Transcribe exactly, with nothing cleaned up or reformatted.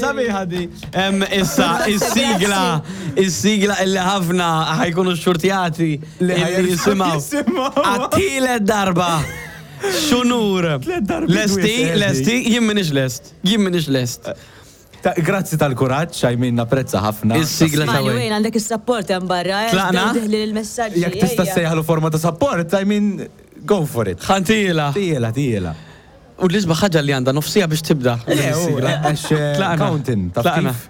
Sabiħa di. Em, Issa, is-sigla, is-sigla illi ħafna ħa jkunu xxurtjati Li illi ħa jerġgħu jisimgħu. jisimgħu. Għat-tielet darba. X'unur. Tliet darbiet Lesti, wisq, lesti, jien m'iniex lest. Jien m'iniex lest. Ta- Grazzi tal-kuraġġ, I mean, napprezza ħafna. Is-sigla ta' Mani, Wayne. Wayne, għandek is-support hemm barra. eh, Tlaqna? Diħli l-messaġġi. Jekk tista' ejja. sejħlu forma ta' support, I mean, go for it. Ħa ntila. Tijela, tijela. U l-isbaħ ħaġa li għandha nofs siegħa biex tibda. Le, u, għax eh, Tlaqna. counting, taf Tlaqna. kif?